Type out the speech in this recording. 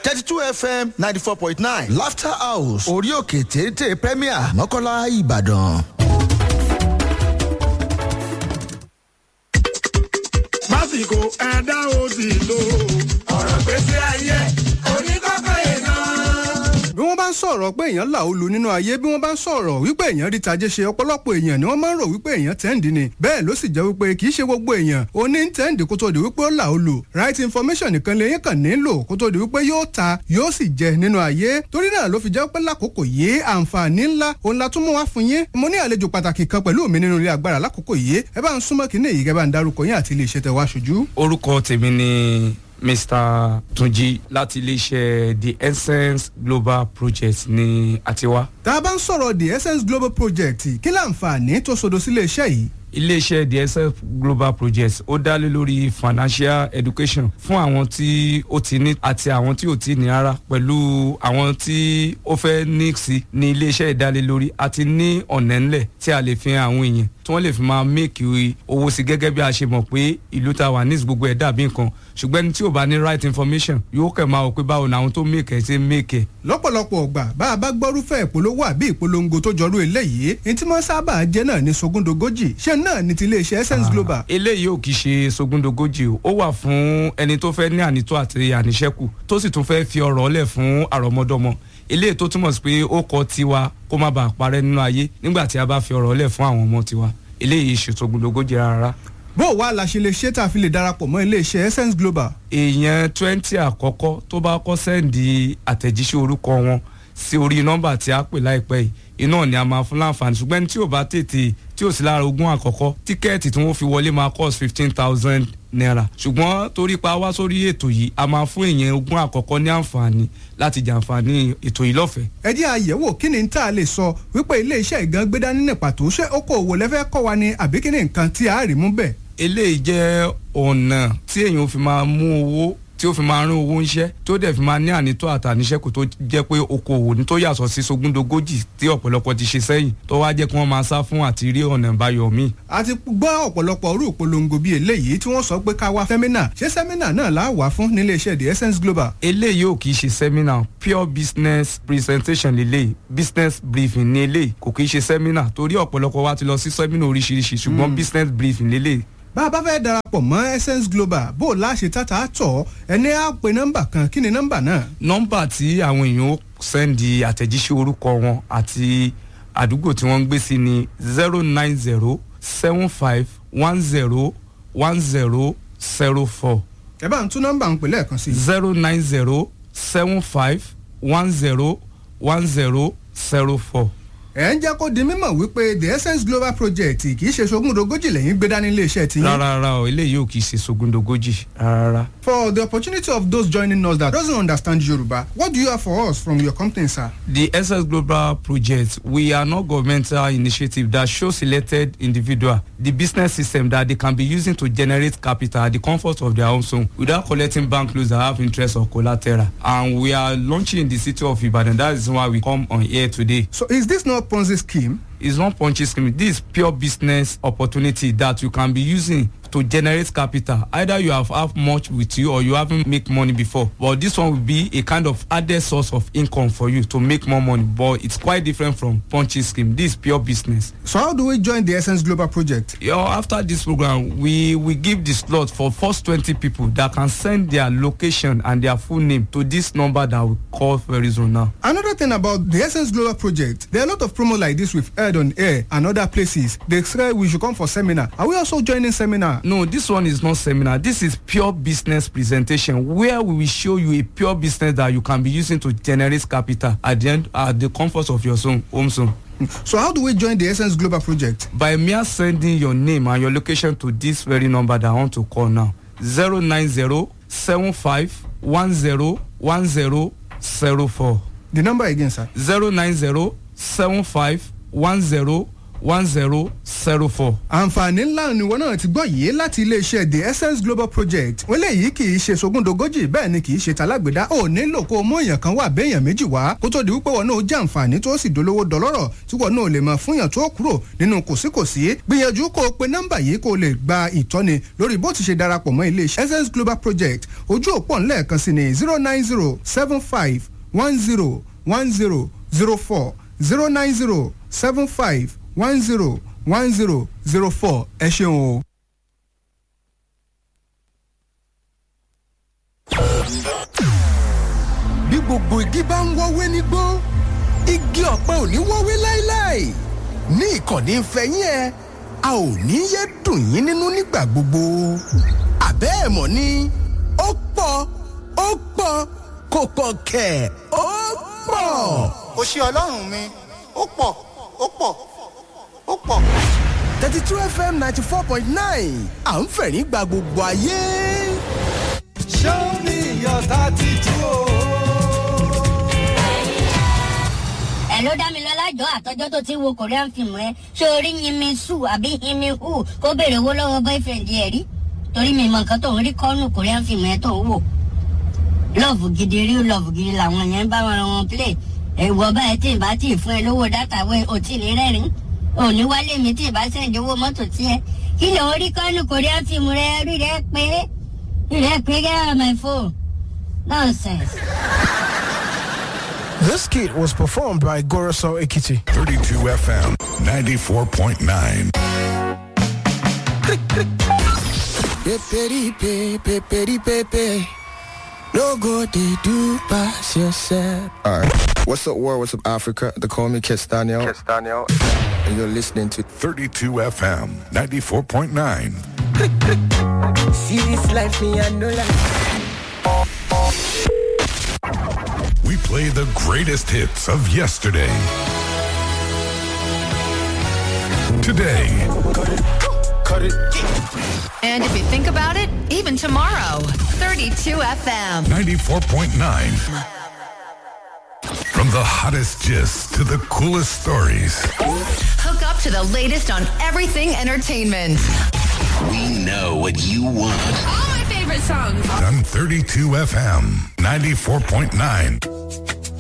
32 FM 94.9, Laughter House, orí òkè téńté Premier, Mọ́kọ́lá, Ìbàdàn. Lásìkò ẹ̀dá òsì lò. Ọ̀rọ̀ gbèsè ayé oníkọ́kọ́ èèyàn. Bí wọ́n bá ń sọ̀rọ̀ pé èèyàn là ó lu nínú ayé, bí wọ́n bá ń sọ̀rọ̀ wípé èèyàn rí tajé ṣe, ọ̀pọ̀lọpọ̀ èèyàn ni wọ́n máa ń rò wípé èèyàn tẹ́ǹdì ni. Bẹ́ẹ̀ ló sì jẹ́ wípé kì í ṣe gbogbo èèyàn ó ní tẹ́ǹdì kó tó di wípé ó là ó lu. Right information nìkan lèyìn kàn nílò kó tó di wípé yóò ta, yóò sì jẹ nínú ayé. Torí náà ló fi jẹ́ pé lákòókò yìí, àǹfààní ńlá òun la tún mú wá fún yín. Mo ní àlejò pàtàkì kan pẹ̀lú mi nínú ilé agbára lákòókò yìí. Ẹ bá ń súnmọ́ kínní yìí, kẹ́ bá ń darúkọ yín àti ilé iṣẹ́ tẹ wá ṣojú. Orúkọ tèmi ni Mr Tunji láti iléeṣẹ́ The Essence Global Project ní àtiwá. Tá a bá ń sọ̀rọ̀ The Essence Global Project, kí láǹfààní tó sodo sílé iṣẹ́ yìí? Iléeṣẹ́ The Essence Global Project, ó dá lé lórí financial education fún àwọn tí ó ti ní àti àwọn tí ò ti ní rárá, pẹ̀lú àwọn tí ó fẹ́ ní sí ní iléeṣẹ́ ìdálélórí àti ní ọ̀nà ńlẹ̀ tí a lè fi hàn àwọn èèyàn tí wọ́n lè fi máa make owó sí. Gẹ́gẹ́ bí a ṣe mọ̀ pé ìlú ta wà ní gbogbo ẹ̀ dàbí nǹkan, ṣùgbọ́n ẹni tí ò bá ní right information yóò kẹ̀ máa wò pé báwo ni àwọn tó make ẹ̀ ṣe make ẹ̀. Lọ́pọ̀lọpọ̀ ọgbà, bá a bá gbọ́rúfẹ́ ìpolówó àbí ìpolongo tó jọrú eléyìí, ní tí wọ́n sábà jẹ́ náà ní sogúndogójì. Ṣé náà ní ti iléeṣẹ́ Essence Global? Eléyìí ò kì í ṣe sogúndogójì o. Ó wà fún ẹni tó fẹ́ ní ànító àti àníṣẹ́kù, tó sì tún fẹ́ fi ọrọ̀ lẹ̀ fún àrọ́mọdọ́mọ. Eléyìí tó túmọ̀ sí pé ó kọ tiwa kó má bàa parẹ́ nínú ayé nígbà tí a bá fi ọrọ̀ lẹ̀ fún àwọn ọmọ tiwa. Eléyìí ṣe sogúndogójì rárá. Bó o wá la ṣe lè ṣe tá a fi lè darapọ̀ mọ́ iléeṣẹ́ Essence Global? Èèyàn 20 àkọ́kọ́ tó bá kọ́ send àtẹ̀jíṣẹ́ orúkọ wọn sí orí nọ́mbà tí a pè láìpẹ́ yìí, iná ni a máa fún láǹfààní. Ṣùgbọ́n ẹni tí ò bá tètè, tí ò sí lára 20 àkọ́kọ́, tíkẹ́ẹ̀tì tí wọ́n fi wọlé máa cost ₦15,000. Ṣùgbọ́n torí pa wá sórí ètò yìí, a máa fún èèyàn 20 àkọ́kọ́ ní àǹfààní láti jàǹfààní ètò yìí lọ́fẹ̀ẹ́. Ẹ jẹ́ àyẹ̀wò kí ni tá a lè sọ wípé iléeṣẹ́ ìgan gbé dání ní pàtó. Ṣé okòòwò lẹ́fẹ́ kọ́ wa ni, àbí kí ni nǹkan tí a rí mú bẹ́ẹ̀? Eléyìí jẹ́ ọ̀nà tí èèyàn fi máa mú owó, tí ó fi máa rán owó ńṣẹ́, tó dẹ̀ fi máa ní ànító àtàníṣẹ́kù, tó jẹ́ pé okòwò ní tó yàtọ̀ sí sogúndogójì tí ọ̀pọ̀lọpọ̀ ti ṣe sẹ́yìn, tó wá jẹ́ kí wọ́n máa sá fún àti rí ọ̀nà ìbáyọ̀ míì. A ti gbọ́ ọ̀pọ̀lọpọ̀ orú ìpolongo bíi eléyìí tí wọ́n sọ pé ká wá seminar. Ṣé seminar náà la wà fún nílé iṣẹ́ The Essence Global? Eléyìí ò kì í ṣe seminar. Pure business presentation lélẹ́yìí, business briefing ní eléyìí. Kò kì í ṣe seminar, torí ọ̀pọ̀lọpọ̀ wa ti lọ sí seminar oríṣiríṣi, ṣùgbọ́n business briefing lélẹ́yìí. Bá a bá fẹ́ darapọ̀ mọ́ Essence Global, bó o láṣẹ tata tọ̀, ẹni á pe nọ́mbà kan. Kí ni nọ́mbà náà? Nọ́mbà tí àwọn èèyàn ó send àtẹ̀jíṣẹ́ orúkọ wọn àti àdúgbò tí wọ́n ń gbé sí ni 09075101004. Ẹ bá ń tún nọ́mbà ń pè lẹ́ẹ̀kan sí i. 09075101004. Ẹ̀ ń jẹ́ kó di mímọ̀ wípé The Essence Global Project kì í ṣe sogúndogójì lẹ́yìn gbé dání iléeṣẹ́ tiyín. Rárá rárá o, eléyìí ò kì í ṣe sogúndogójì rárá. For the opportunity of those joining us that doesn't understand Yoruba, what do you have for us from your company, sir? The Essence Global Project, we are not governmental initiative that shows selected individual the business system that they can be using to generate capital at the comfort of their own home without collecting bank loans that have interest or collateral. And we are launching in the city of Ibadan. That is why we come on here today. So is this not Ponzi scheme? It's not Ponzi scheme. This is pure business opportunity that you can be using to generate capital. Either you have much with you or you haven't make money before. But this one will be a kind of added source of income for you to make more money. But it's quite different from Ponzi scheme. This is pure business. So how do we join the Essence Global Project? You know, after this program, we give the slot for first 20 people that can send their location and their full name to this number that we call very soon now. Another thing about the Essence Global Project, there are a lot of promos like this we've heard on air and other places. They say we should come for seminar. Are we also joining seminar? No, this one is not seminar. This is pure business presentation where we will show you a pure business that you can be using to generate capital at the end, at the comfort of your zone, home zone. So how do we join the Essence Global Project? By mere sending your name and your location to this very number that I want to call now. 09075101004. The number again, sir. 0907510 10 04. Àǹfààní ńlá ni wọn náà ti gbọ́ yìí láti iléeṣẹ́ The Essence Global Project. Wọ́n léyìí kì í ṣe sogúndogójì, bẹ́ẹ̀ ni kì í ṣe talágbèdá. Ò nílò kó o mú èèyàn kan wà béèyàn méjì wá kó tó di wípé wọn náà jẹ́ àǹfààní tó sì dolówó dọlọ́rọ̀ tí wọn náà lè mọ̀ fúnyàn tó kúrò nínú kòsíkòsí. Gbìyànjú kó o pe nọ́mbà yìí kó o lè gba ìtọ́ni lórí bó ti ṣe darapọ̀ mọ́ iléeṣẹ́ Essence Global Project. Ojú òpó ńlẹ̀ẹ̀kan sí ni 09075101004, 09075101004. Ẹ ṣeun o. Bí gbogbo igi bá ń wọ́wé nígbó, igi ọ̀pẹ ò ní wọ́wé láéláé. Ní ìkànnì ìfẹ́yín ẹ, a ò ní yé dùn yín nínú nígbà gbogbo. Àbẹ́ ẹ̀ mọ̀ ni ó pọ̀, ó pọ̀, kò pọ̀ kẹ̀, ó pọ̀. Ó ṣe Ọlọ́run mi, ó pọ̀, ó pọ̀, ó pọ̀. 32 FM 94.9, à ń fẹ̀rín gba gbogbo ayé. Show me your 32. Ẹ ló dá mi lọ́lá jọ àtọ́jọ́ tó ti wo Korean film rẹ. Ṣé orí Yinmi Su àbí Yinmi Hu kó béèrè owó lọ́wọ́ boyfriend ẹ̀ rí? Torí mi mọ nǹkan tó ń rí kọ́nù Korean film rẹ tó ń wò. Love gidi, real love gidi làwọn yẹn ń bá wọn wọn play. Ẹ̀wọ̀ báyìí tí ì bá tì í fún ẹ lówó dátà wẹ̀, ò tí ì ní rẹ́rìn-ín. Òní wálé mi tí ì bá send owó mọ́tò tiẹ̀. Kí ló ń rí kọ́nù Korean film rẹ? Rí rẹ pé, rí rẹ pé, get out of my phone, nonsense. This kit was performed by Goroso Ekiti. 32 FM 94.9. Peperipe, peperipepe. No go dey do pass yourself. All right. What's up, world? What's up, Africa? They call me Kiss Daniel. Kiss Daniel. And you're listening to 32 FM 94.9. See this life, me, I know life. We play the greatest hits of yesterday, today, Cut it. And if you think about it, even tomorrow, 32 FM. 94.9. From the hottest gist to the coolest stories. Hook up to the latest on everything entertainment. We know what you want. All my favorite songs. On 32 FM 94.9.